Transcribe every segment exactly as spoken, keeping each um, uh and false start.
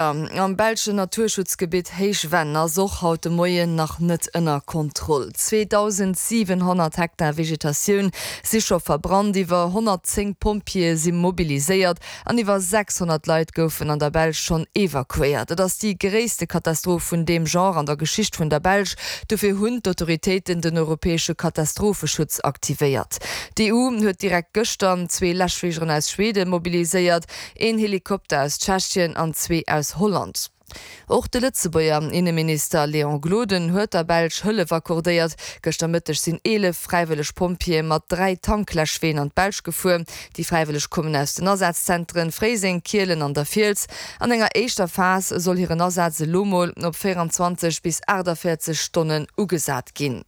Am belschen Naturschutzgebitt Héichvenn ass och haut de Moien nach net ënner Kontroll. zweedausendsiwenhonnert Hektar Vegetatioun si scho verbrannt, iwwer honnertzéng Pompjeeë si mobiliséiert an iwwer sechshonnert Leit goufen an der Belsch schonn evakuéiert. Et ass déi gréisste Katastroph vun deem Genre an der Geschicht vun der Belsch. Dofir hunn d'Autoritéiten den europäesche Katastropheschutz aktivéiert. D'EU huet direkt gëschter zwee Läschfligeren aus Schweden mobiliséiert, een Helikopter aus Tschechien an zwee aus Holland. Och de Lëtzebuerger Inneminister Léon Gloden huet der Belsch Hëllef accordéiert. Gëschter Mëtteg sinn eelef fräiwëlleg Pompjeeë mat dräi Tankläschween an d'Belsch gefuer. Déi Fräiwëlleg kommen aus den Asazzentren Fréiseng, Kielen an der Fiels. An enger éischter Phas soll hiren Asaz elo mol op véierundzwanzeg bis aachtavéierzeg Stonnen ugesat ginn.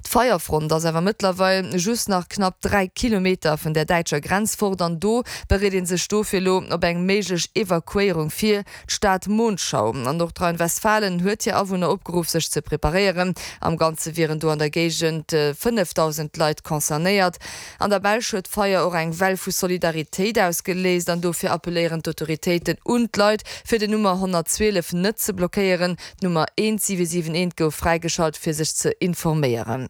D'Feierfront ass awer mëttlerweil just nach knapp dräi Kilometer vun der däitscher Grenz fort an do bereet ee sech dofir elo op eng méiglech Evakuéierung vir. D'Stad Monschau an Nordrhein-Westfalen huet hir Awunner opgeruff sech ze preparéieren. Am Ganze wieren do an der Géigend fënnefdausend Leit concernéiert. An der Belsch huet d'Feier och eng Well vu Solidaritéit ausgeléist an dofir appelléieren d'Autoritéiten un d'Leit, fir den Nummer honnertzwielef net ze blockéieren. D'Nummer eent siwe siwen eent gouf fräigeschalt fir sech ze informéieren.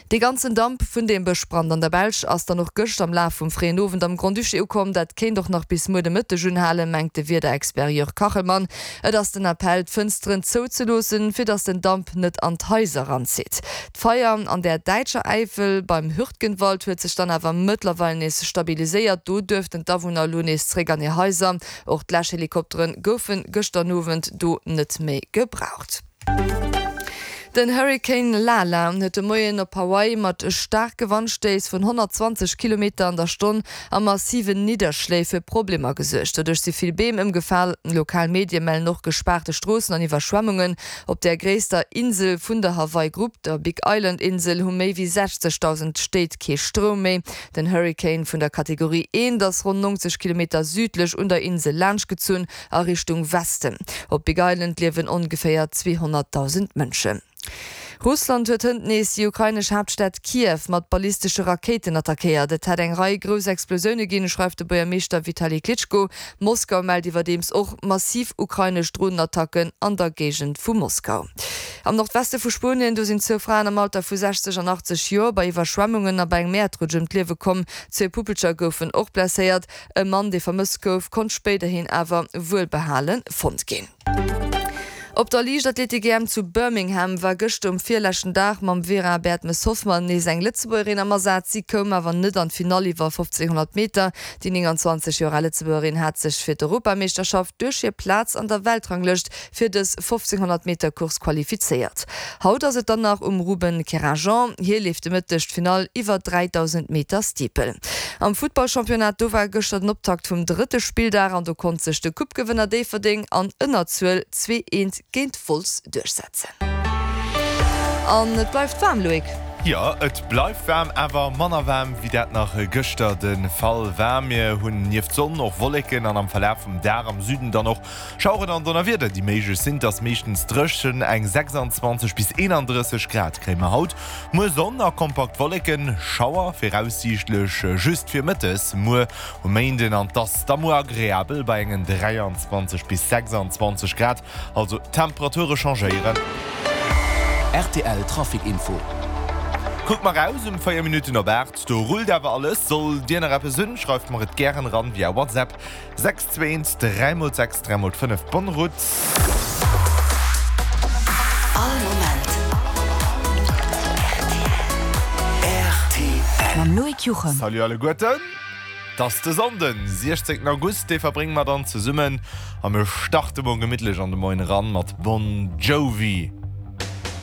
Dee ganzen Damp vun deem Bëschbrand an der Belsch ass dann och gëscht am Laf vum fréien Owend am Grand-Duché ukomm. Dat kéint och nach bis muer de Mëtteg unhalen, mengt de Wiederexpert Jörg Kachelmann. Et ass den Appell, d'Fënsteren zouzeloossen, fir datt den Damp net an d'Haiser eranzitt. D'Feier an der däitscher Äifel beim Hürtgenwald huet sech dann awer mëttlerweil nees stabiliséiert. Do duerften d'Awunner elo nees zréck an hir Haiser. Och d'Läschhelikoptere goufe gëschter Owend do net méi gebraucht. Den Hurrikan Lala huet de Moien op Hawaii mat staarke Wandstéiss vun honnertzwanzeg Kilometer an der Stonn a massiven Nidderschléi fir Problemer gesuergt. Doduerch si vill Beem ëmgefal. Lokal Medie mellen och gespaarte Stroossen an Iwwerschwemmungen. Op der gréisster Insel vun der Hawaii-Grupp, der Big Island-Insel, hu méi wéi sechzegdausend Stéit kee Stroum méi. Den Hurrikan vun der Kategorie eent ass ronn neunzeg Kilometer südlech un der Insel laanschtgezunn a Richtung Westen. Op Big Island liewen ongeféier zweehonnertdausend Mënschen. Russland huet hënt nees déi ukrainesch Haaptstad Kiew mat ballistesche Rakéiten attackéiert. Et hätt eng Rei grouss Explosioune ginn, schreift de Buergermeeschter Vitali Klitschko. Moskau mellt iwwerdeems och massiv ukrainesch Dronenattacken an der Géigend vu Moskau. Am Nordweste vu Spuenien, do sinn zwou Fraen am Alter vu sechzeg an achtzeg Joer bei Iwwerschwemmungen a bei engem Äerdrutsch ëm d'Liewe komm. Zwee Puppelcher goufen och blesséiert. E Mann, dee vermësst gouf, konnt spéiderhin awer wuelbehale fonnt ginn. Op der Liichtathletik-E M zu Birmingham war gëschter um virleschten Dag mam Vera Bertmes-Hoffmann nees eng Lëtzebuergerin am Asaz. Si koum awer net an d'Finall iwwer fofzénhonnert Meter. Déi nénganzwanzeg Joer al Lëtzebuergerin hat sech fir d'Europameeschterschaft duerch hir Plaz an der Weltranglëscht fir dës fofzénhonnert Meter Course qualifizéiert. Haut ass et dann nach um Ruben Kerajan. Hie leeft de Mëtteg d'Finall iwwer dräidausend Meter Steeple. Am Futtballchampionnat, do war gëschter den Optakt vum drëtte Spilldag an do konnt sech de Coupe-Gewënner Déifferdeng an Ënnerzuel zwee eent géint Wolz duerchsetzen. An et bleift waarm, Loïc. Jo, et bleift waarm, awer manner waarm wéi dat nach gëschter de Fall war. Mir hunn nieft Sonn och Wolleken an am Verlaf vum Dag am Süden dann och Schaueren an Donnerwieder, déi méiglech sinn. Et ass meeschtens dréchen, eng sechsanzwanzeg bis eenandrësseg Grad kréie mer haut. Muer Sonn a kompakt Wolleken, Schauer viraussiichtlech just fir mëttes muer um Méinden an 't ass da muer agreabel bei engen dräianzwanzeg bis sechsanzwanzeg Grad. Also d'Temperature changéieren. R T L Trafic Info. Kuckt mer raus um véier Minutten op aacht, do rullt awer alles. Sollt dir nach eppes hunn, schreift mer et gären eran via WhatsApp, sechs zwee eent dräi mol sechs dräi mol fënnef. Bonne route. All Moment R T L. Mam Loïc Juchem. Salut alleguerten. 't ass de Sonnden, siechzéngten August, dee verbrénge mer dann zesummen a mir starte mol gemittlech an de Moien eran mat Bon Jovi.